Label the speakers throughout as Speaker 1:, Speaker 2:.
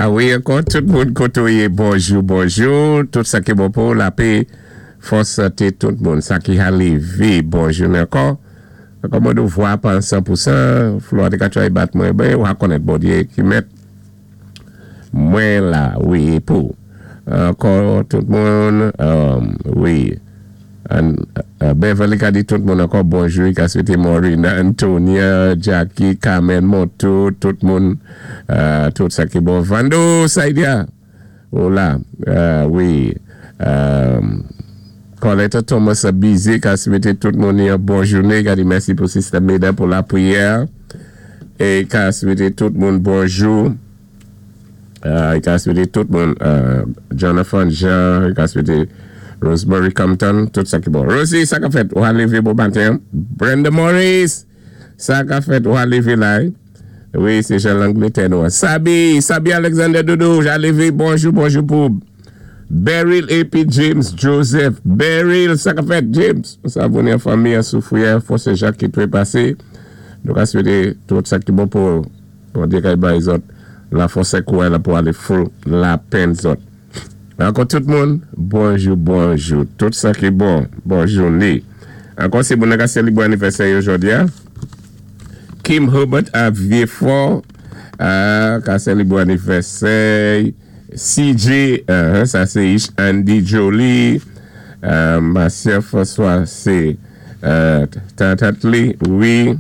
Speaker 1: A wi, ankò tout moun koté ou yé, bonjou, bonjou. Tout sa ki bon pou lapè, fòs, santé tout moun. Sa ki ka lévé, bon jounen ankò. Ankò mwen nou vwa pa 100%, Flora té ka try bat mwen, ben, ou ka konnèt Bondyé ki mèt mwen la, wi, pou. Ankò tout moun, wi. Beverly ka di tout moun ankò bonjou, ka swété Maureen, Antonia, Jackie, Carmen, Moto, tout moun, tout sa ki bon. Vando, Saidia, hola, wi. Coletta Thomas busy, ka swété tout moun yon bon jounen, ka di mèsi pou Sister Meda pou lapriyè. É ka swété tout moun bonjou. Ka swété tout moun, Jonathan Jean, ka swété Rosemary Compton, tout sa ki bon. Rosie, sa ka fèt, ou ka lévé bon maten. Brenda Morris, sa ka fèt, ou ka lévé la. Wi, sé jan Langlétè nou. Sabi, Sabi Alexander Doudou, ja lévé, bonjou, bonjou pou Beryl épi James Joseph. Beryl, sa ka fèt, James. Sa vini an fanmi, an soufwi, fò sé Jacques ki twépasé. Nou ka swété tout sa ki bon pou Bondyé kay bay zòt lafòs é kouray la pou alé fou lapenn zòt. Ankò tout moun, bonjou, bonjou. Tout sa ki bon, bon jounen. Ankò sé moun ka sélébwé anivèsè yo jòdi a. Kim Herbert a Vieux-Fort ka sélébwé anivèsè. CJ, sa sé Ish Andy Jolie, Marcia François sé Tantatli, wi.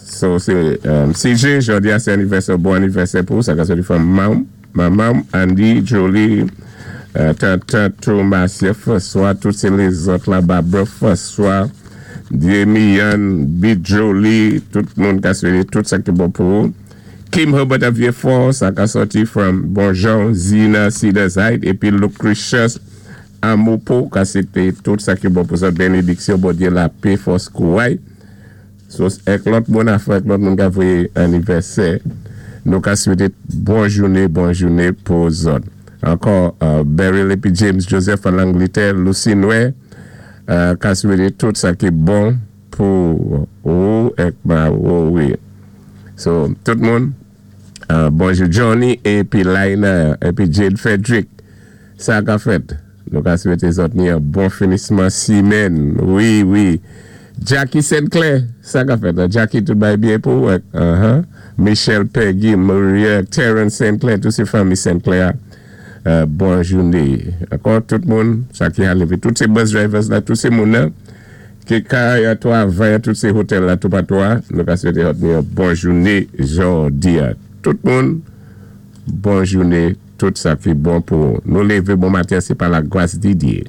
Speaker 1: So sé CJ, jòdi a sé anivèsè, bon anivèsè pou sa ka soti from manman Andy, Jolie, Tante Thomas, François, tout sé lézòt la, Barbara François, Demian, Bit Jolie, tout moun ka swété tout sa ki bon pou ou. Kim Herbert a Vieux-Fort, sa ka soti from Bonjean, Zina, Cedar Heights, épi Lucretius Amopo, ka swété tout sa ki bon pou sa bénédiksyon, Bondyé lapè, fòs kouray. So, èk lòt moun afè, èk lòt moun ka voyé anivèsè, nou ka swété bon jounen, bon jounen pou zòt. Ankò, Beryl épi James Joseph an Langlétè, Lucy Noé, ka swété tout sa ki bon pou ou èk ma ou, wi. So, tout moun, bonjou Johnny épi Laina, épi Jade Frederick, sa ka fèt. Nou ka swété zòt ni yon bon finisman simèn. Wi. Jackie Sinclair, sa ka fèt. Jackie, tout bay byen pou ou. Michelle, Peggy, Maria, Terence Sinclair, tout sé fanmi Sinclair. Bon jounen. Ankò tout moun, sa ki ka lévé, tout sé bus drivers la, tout sé moun nan, ki ka twavay, tout sé otèl la, tout patou, nou ka swété ni yon bon jounen jòdi. Tout moun, bon jounen, tout sa ki bon pou nou lévé bon maten, sé pa lagras di Dyé.